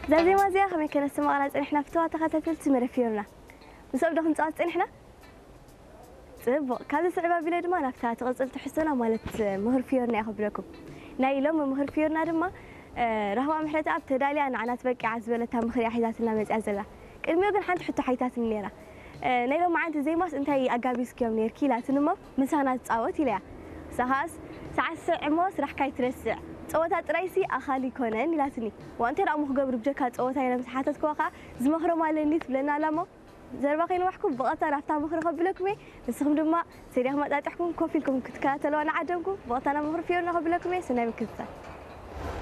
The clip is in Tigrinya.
እዛ ዜማ እዚኣ ከመይ ከነስማቕና ጸኒሕና ፍትዋ ተኸታተልቲ መደብ ፊዮርና? ምስኦም ዶ ክንጻወት ጸኒሕና? ጽቡቕ። ካብዚ ስዕብ ኣቢለ ድማ ናብታ ትቕጽል ትሕዝቶና ማለት ምሁር ፊዮርና እየ ክብለኩም። ናይ ሎሚ ምሁር ፊዮርና ድማ ራህዋ ምሕረተኣብ ተዳልያ ንዓና ትበቂዓ ዝበለታ ምኽሪ እያ ሒዛትና መጺኣ ዘላ። ቅድሚኡ ግን ሓንቲ ሕቶ ሓቲታትኒ ነይራ። ናይ ሎማዓንቲ ዜማስ እንታይ ኣጋቢዝክዮም ነይርኪ ኢላትኒ እሞ ምሳና ትጻወት ኢለያ። ንሳ ኸዓስ ሰዓት ስዕ እሞ ስራሕካ ኣይትረስዕ፣ ጸወታ ጥራይሲ ኣኻሊ ኣይኮነን ኢላትኒ። ዋእ እንታይ ደኣ እሞ ክገብር ብጀካ ጸወታ ኢለ ምስ ሓተትክዋ ኸዓ ዝመኽሮም ኣለኒ ትብለና ኣላ እሞ ዘረባ ከይነዋሕኩም ብቐጥታ ናብታ ምኽሪ ከብለኩም እየ። ንስኹም ድማ ሰዲኹም ኣጣጢሕኩም ኮፍ ኢልኩም ክትከታተልዋ ንዓደምኩ። ብቐጥታ ናብ ምኽሪ ፊዮርና ከብለኩም እየ። ሰናይ ምክትታል።